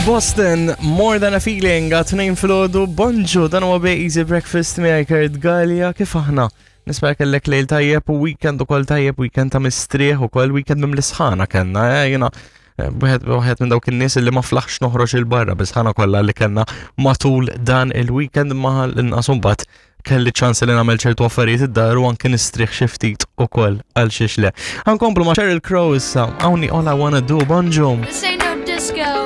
Boston, More Than a Feeling, għat-tnejn filgħodu, bonġu, dan huwa Bej Easy Breakfast miegħi Kurt Gallia, kif aħna? Nispera kellek lejl tajjeb u weekend ukoll tajjeb, weekend ta' mistrieħ ukoll weekend mim l-isħana kellna, eh, jiena eh, wieħed wieħed minn dawk in-nies li ma flaħx noħroġ il-barra bis-sħana kollha li kellna matul dan il-weekend ma l-inqas imbagħad kelli ċans li nagħmel ċertu affarijiet id-dar u anke nistrieħ xi ftit ukoll għal xiex le. Ħankomplu ma' Sheryl Crow issa, hawnni All I Wanna Do, bonġu. This ain't no disco.